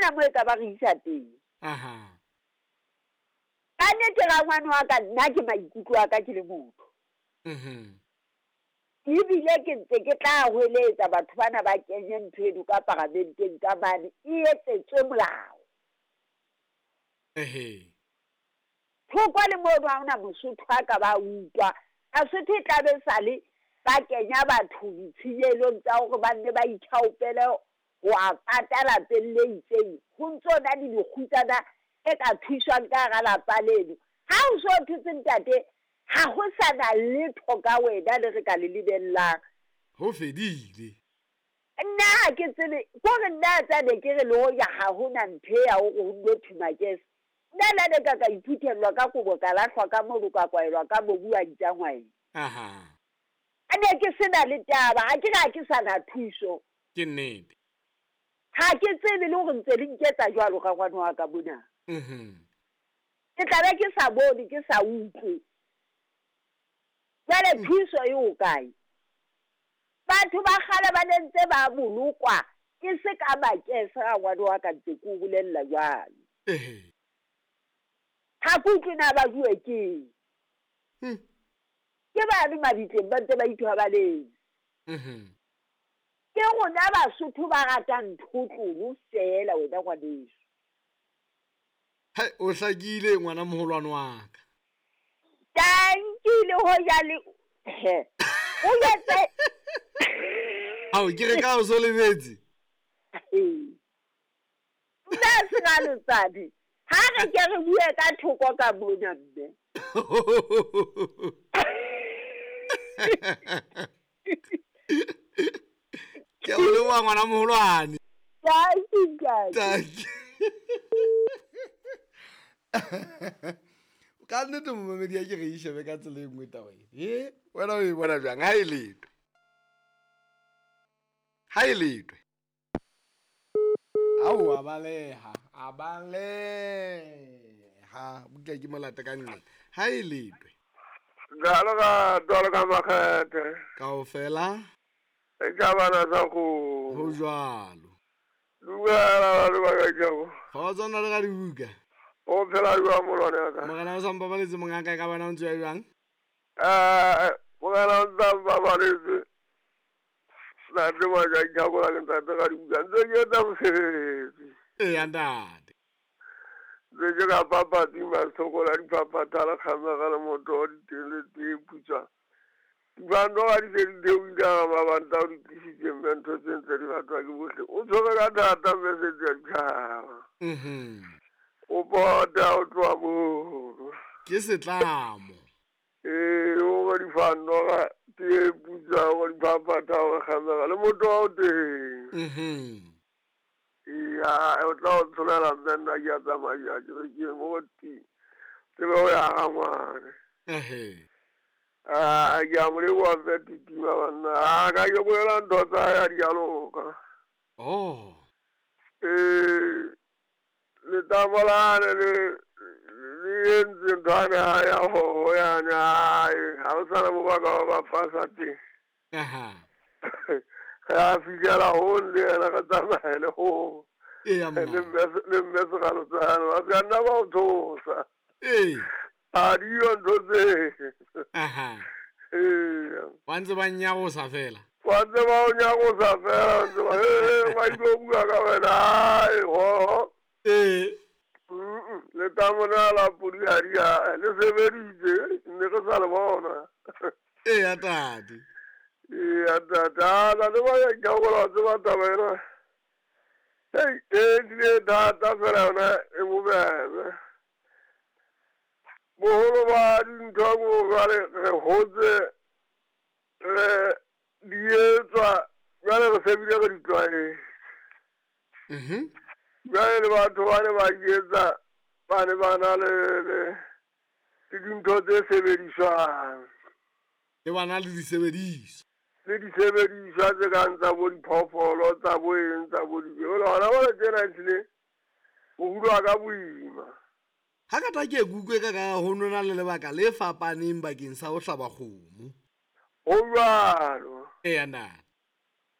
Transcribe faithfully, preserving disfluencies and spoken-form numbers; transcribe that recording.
hona mo e ka ba re isa teng. Aha. Ka nnete rangwane wa ka, nna ke maikutlo a ka ke le motho. Mhm. Ebile ke ntse ke tla hweletsa batho bana ba kenye ntho eno ka paramenteng ka mane, e etsetswe molao. Ehe. Thoko le mono ha hona Mosotho a ka ba utlwa. Basotho e tla be sale ba kenya batho ditshenyelong tsa hore ba nne ba ithaopele ho a pata lapeng le itseng. Ho ntso na le dikgutsana e ka thuswang ka hara lapa leno. Ha o so thotse ntate, ha ho sa na letho ka wena le re ka le lebellang. Ho fedile. Nna ha ke tsebe, kore nna tsa ne ke re le hoja ha hona ntho e ya hore ho nno thuma kese. Nna la ne ka ka iphuthellwa ka kobo ka lahlwa ka mono ka kwaelwa ka mobu wa ntjangwae. Aha. A ne ke sena le taba, ha ke re ha ke sa na thuso. Ke nnete. Ha ke tsebe le hore ntse le nketsa jwalo ka ngwana wa ka mona. Mhm. Ke tla be ke sa bone, ke sa utlwe. Jwale thuso e ho kae? Batho ba kgale ba ne ntse ba bolokwa ke se ka makese ga ngwana wa ka ntse ke o bolella jwalo. Ehe. Ha ke utlwe na ba bue keng. Hmm. Ke bane mabitleng ba ntse ba ithobaletse. Mhm. Ke rona Basotho ba ratang nthotlolo feela wena ngwaneso. Hai, o hlakile ngwana moholwane wa ka. Tanki le hoja le he. O etse Ao, ke re ka o so lebetse. Nna se ga letsadi. Ha re ke re bue ka thoko ka mona mme. Ke o leboha ngwana moholwane. Tanki ntate. Tanki. Ka nnete momamedi a ke re e shebe ka tsela e nngwe taba e. E, wena o e bona jwang? Ha e letwe. Ha e letwe. Ao, a baleha, a baleha. Buka ke molata ka nne. Ha e letwe. Jalo ka jalo ka makgethe. Kaofela. E ka bana sa go. Ho jwalo. Dumela le ba ka jalo. Kgotso nna le ka dibuka. O phela jwang molwane wa ka? Morena o sa mpabaletse mongaka e ka bana o ntse ya jwang? Eh, morena o ntse a mpabaletse. Ntate wa ka ke a ke ntate ka dibuka. Ntse ke etsa mosebetsi. Eya ntate. Ntse ke ka papatsi masokola dipapatha le kgamega le motho wa diteng le tee putswa. Dibando ga di se di theohile ka mabanta o di tlisitse mme ntho tse ntse di ratwa ke bohle. O tshwere ka thata message ya ditjhaba. Mhm. O pota o tloha mono. Ke setlamo. Ee, o re difano ga tee putswa, o re dipapatha, o re kgamega le motho wa o teng. Mhm. Eya, o tla o tsholela mme nna ke a tsamaya ke re ke mo ti. Tsebe ho ya ga ngwane. Ehe. Ah, ke a mo leboha mme Titima banna. Ah, ka ke bolela ntho tsa hae ha di a loka. Oh. Ee, letamo lane le le entse ntho ane ha ya hoho yane, hai, ha o sana mo ba ka ba fasa teng. Aha. Re a fihlela hong le yena re tsamaye le hong. Eya, mma. Le mme le mme Sekgalotsane, ba ska nna ba o tshosa. Ee. Ha di yo ntho tse. Aha. Eya. Ba ntse ba nyarosa fela. Ba ntse ba o nyarosa fela, ba ntse ba, he, ba ilo bua ka wena, hai, ho. Ee. Mm-mm, letamo lena la podi ha di a, le sebeditse, ne re sa le bona. Eya, tate. Eya, tate, a na le ba ya ke a gola, wa tseba taba ena. Hei, e tlile thata fela yona e bobebe. Boholo ba dintho bo jwale re hotse, re di etswa, jwale re se bile re di tlwaetse. Mhm. Jwale le batho ba ne ba di etsa, ba ne ba na le, le, le dintho tse sebediswang. Le ba na le disebediswa. Le disebediswa tse kang tsa bo diphoofolo, tsa bo eng, tsa bo di-, jwale hona jwale tjena ehlile, ho hulwa ka boima. Ha ka ta ke kutlwe ka ka ho nona le lebaka le fapaneng bakeng sa ho hlaba kgomo. Ho jwalo. Eya, ntate.